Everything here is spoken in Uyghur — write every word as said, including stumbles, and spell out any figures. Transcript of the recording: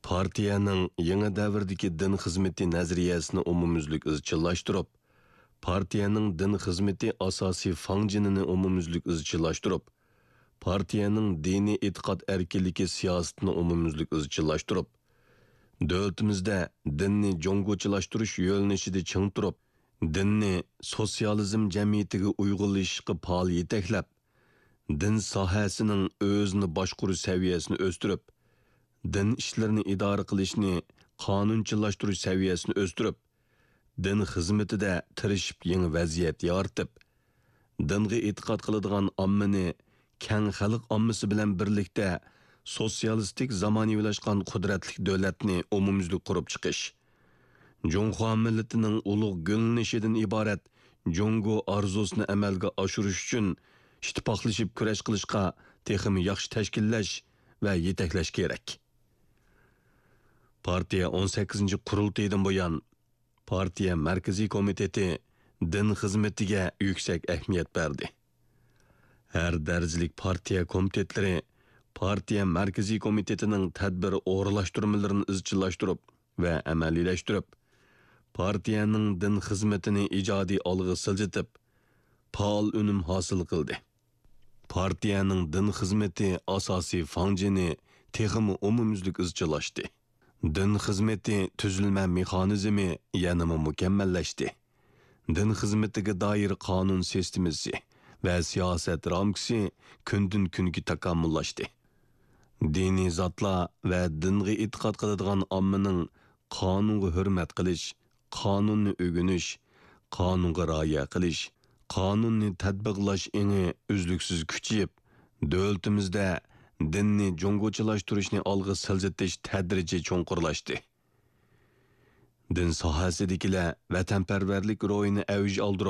پارتىيەنىڭ يېڭى دەۋردىكى دىن خىزمىتى نەزەرىيەسىنى ئومۇميۈزلۈك ئىزچىللاشتۇرۇپ، پارتىيەنىڭ دىن خىزمىتى ئاساسىي فاڭجېنىنى ئومۇميۈزلۈك ئىزچىللاشتۇرۇپ، پارتىيەنىڭ دىنىي ئېتىقاد ئەركىنلىكى سىياسىتىنى ئومۇميۈزلۈك ئىزچىللاشتۇرۇپ، دۆلىتىمىزدە دىننى جۇڭگوچىلاشتۇرۇش يۆنىلىشىدە چىڭ تۇرۇپ، دىننى سوتسىيالىزم جەمئىيىتىگە ئۇيغۇنلىشىشقا پائال يېتەكلەپ، دىن ساھەسىنىڭ ئۆزىنى باشقۇرۇش سەۋىيەسىنى ئۆستۈرۈپ، دىن ئىشلىرىنى ئىدارە قىلىشنى قانۇنچىلاشتۇرۇش سەۋىيەسىنى ئۆستۈرۈپ، دىن خىزمىتىدە تىرىشىپ يېڭى ۋەزىيەت يارىتىپ، دىنغا ئېتىقاد قىلىدىغان ئاممىنى كەڭ خەلق ئاممىسى بىلەن بىرلىكتە سوتسىيالىستىك زامانىۋىلاشقان قۇدرەتلىك دۆلەتنى ئومۇميۈزلۈك قۇرۇپ چىقىش، جۇڭخۇا مىللىتىنىڭ ئۇلۇغ گۈللىنىشىدىن ئىبارەت جۇڭگو ئارزۇسىنى ئەمەلگە ئاشۇرۇش ئۈچۈن ئىتتىپاقلىشىپ كۈرەش قىلىشقا تېخىمۇ ياخشى تەشكىللەش ۋە يېتەكلەش كېرەك. پارتىيە ئون سەككىزىنچى قۇرۇلتىيىدىن بۇيان، پارتىيە مەركىزىي كومىتېتى دىن خىزمىتىگە يۈكسەك ئەھمىيەت بەردى. ھەر دەرىجىلىك پارتىيە كومىتېتلىرى پارتىيە مەركىزىي كومىتېتىنىڭ تەدبىر ئورۇنلاشتۇرمىلىرىنى ئىزچىللاشتۇرۇپ ۋە ئەمەلىيلەشتۈرۈپ، پارتىيەنىڭ دىن خىزمىتىنى ئىجادىي ئالغا سىلجىتىپ، پائال ئۈنۈم ھاسىل قىلدى. پارتىيەنىڭ دىن خىزمىتى ئاساسىي فاڭجېنى تېخىمۇ ئومۇميۈزلۈك ئىزچىللاشتى. دىن خىزمىتى تۈزۈلمە مېخانىزمى يەنىمۇ مۇكەممەللەشتى. دىن خىزمىتىگە دائىر قانۇن سىستېمىسى ۋە سىياسەت رامكىسى كۈندىن-كۈنگە تاكامۇللاشتى. دىنىي زاتلار ۋە دىنغا ئېتىقاد قىلىدىغان ئاممىنىڭ قانۇنغا ھۆرمەت قىلىش، قانۇننى ئۆگىنىش، قانۇنغا رىئايە قىلىش، قانۇننى تەتبىقلاش ئېڭى ئۈزلۈكسىز كۈچىيىپ، دۆلىتىمىزدە دىننى جۇڭگوچىلاشتۇرۇشنى ئالغا سىلجىتىش تەدرىجىي چوڭقۇرلاشتى. دىن ساھەسىدىكىلەر ۋەتەنپەرۋەرلىك روھىنى ئەۋج ئالدۇرۇپ،